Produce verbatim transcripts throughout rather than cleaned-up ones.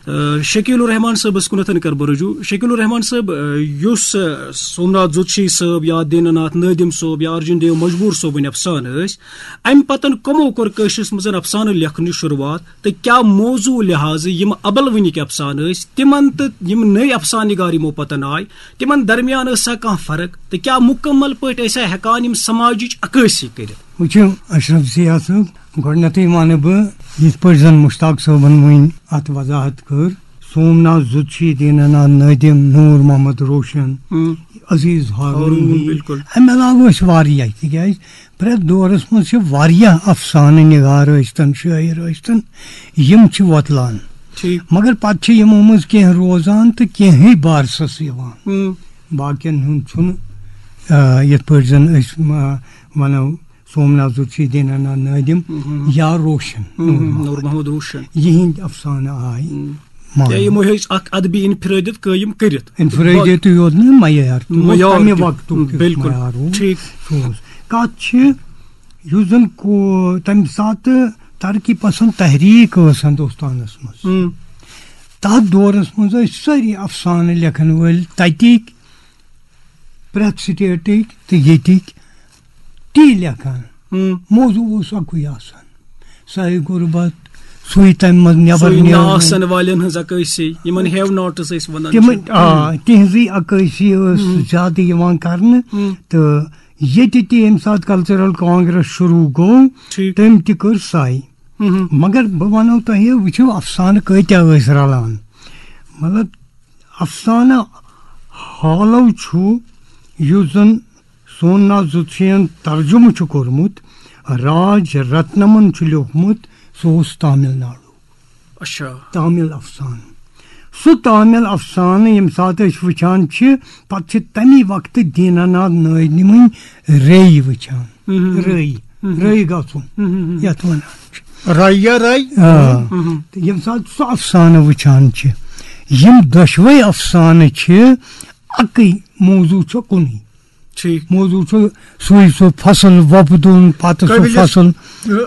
آ، شکیل الرحمان صٲبس کُنتھن کر بہٕ رجوع۔ شکیل الرحمان صٲب، آ، یُس، آ، سومناتھ زُتشی صٲب یا دینا ناتھ نٲدِم صٲب یا ارجُن دیو مجبوٗر صٲبٕنۍ افسانہٕ ٲسۍ، امہِ پتن کمو کوٚر کٲشرِس منٛز افسانہٕ لیکھنٕچ شروٗعات تہٕ کیٛاہ موضوع لحاظہٕ یِم ابلوٕنِکۍ افسانہٕ ٲسۍ، تِمن تہٕ یِم نٔوۍ افسانہٕ نگار یِمو پتن آے، تِمن درمیان ٲسا کانٛہہ فرق تہٕ کیٛاہ مُکمل پٲٹھۍ ٲسا ہٮ۪کان یِم سماجٕچ عکٲسی کٔرِتھ؟ وٕچھِو اشرف ضیاء صٲب، گۄڈٕنٮ۪تھٕے وَنہٕ بہٕ، یِتھ پٲٹھۍ زَن مُشتاق صٲبَن وٕنۍ اَتھ وضاحت کٔر، سومناتھ زُتشی، دیٖناناتھ نٲدِم، نوٗر محمد روشن، ہم۔ عزیز ہارون ہارون، ہی۔ بِلکُل۔ اَمہِ علاوٕ ٲسۍ واریاہ، تِکیٛازِ پرٛٮ۪تھ دورَس منٛز چھِ واریاہ افسانہٕ نِگار ٲسۍتَن، شٲعر ٲسۍتَن، یِم چھِ وۄتلان۔ ٹھیٖک۔ مگر پَتہٕ چھِ یِمو منٛز کینٛہہ روزان تہٕ کینٛہٕے بارسَس یِوان۔ ہم۔ باقیَن ہُنٛد چھُنہٕ، آ، یِتھ پٲٹھۍ زَن أسۍ، آ، وَنو، سومناتھ زُتشی، دیٖناناتھ نٲدِم ہم۔ یا روشن، ہم، نوٗر ہم، محمد۔ نوٗر محمد روشن۔ یِہِنٛدۍ افسانہٕ آے ہم۔ ماننہٕ۔ یا یِمو ہیٚچھ اکھ ادبی انفرٲدیت قٲیِم کٔرِتھ۔ انفرٲدیتٕے یوت نہٕ، معیار تہِ اوس معیار تَمہِ تہِ۔ وقتُک یُس بِلکُل۔ معیار اوس، ٹھیٖک۔ سُہ اوس۔ کَتھ چھِ، یُس زَن کو-، تَمہِ ساتہٕ ترقی پسنٛد تحریٖک ٲس ہندوستانَس منٛز۔ ہم۔ تَتھ دورَس منٛز ٲسۍ سٲری افسانہٕ لیکھَن وٲلۍ تَتِکۍ، پرٛٮ۪تھ سٹیٹٕکۍ تہٕ ییٚتِکۍ تی لیکھان۔ ہم۔ موضوع اوس اَکُے آسان، سۄے غُربت، سُے تَمہِ منٛز نٮ۪بر سُے نہ نیرُن۔ آسن والٮ۪ن ہٕنٛز عکٲسی، یِمن ہیو ناٹٕس ٲسۍ وَنان تِمن، چھِ۔ آ، تِہنٛزٕے عکٲسی ٲس ہم۔ زیادٕ یِوان کرنہٕ۔ ہم۔ تہٕ ییٚتہِ تہِ ییٚمہِ ساتہٕ کلچرل کانگریس شروٗع گوٚو، ٹھیٖک۔ تٔمۍ تہِ کٔر سۄے۔ ہم۔ مگر بہٕ وَنو تۄہہِ، وٕچھِو، افسانہٕ کۭتیٛاہ ٲسۍ رَلان۔ مطلب، افسانہٕ ہالو چھُ، یُس زن سومناتھ زُتشیَن ترجمہٕ چھُ کوٚرمُت، راج رتنمن چھُ لیوٗکھمُت، سُہ اوس تامل ناڈو۔ اچھا۔ تامل افسانہٕ۔ سُہ تامل افسانہٕ ییٚمہِ ساتہٕ أسۍ وٕچھان چھِ، پتہٕ چھِ تَمی وقتہٕ دیٖناناتھ نٲدِمٕنۍ رے وٕچھان۔ ہم۔ رے، ہم۔ رے گژھُن، ہم، ہم، ہم۔ یَتھ وَنان چھِ۔ رے یا رے؟ آ۔ ہم۔ تہٕ ییٚمہِ ساتہٕ سُہ افسانہٕ وٕچھان چھِ، یِم دۄشوَے افسانہٕ چھِ اَکٕے، موضوع چھُ کُنُے۔ ٹھیٖک۔ موضوع چھُ سُے، سُہ فصل وۄپدُن، پتہٕ سُہ قٲبلِ، فصل۔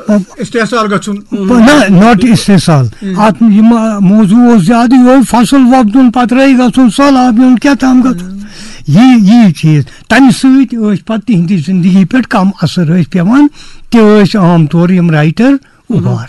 اہ، استحصال گژھُن۔ نہ، not استحصال۔ ہم۔ اتھ یِم، آ، موضوع اوس زیادٕ یِہوٚے فصل وۄپدُن، پتہٕ رٲوۍ گژھُن، سہلاب یُن، کیٛاہ تام گژھُن۔ ہم۔ یی، یی چیٖز۔ تمہِ سۭتۍ ٲسۍ پتہٕ تِہنٛدِ زندگی پٮ۪ٹھ کم اثر ٲسۍ پٮ۪وان۔ تہِ ٲسۍ عام طور یِم writer اُبار۔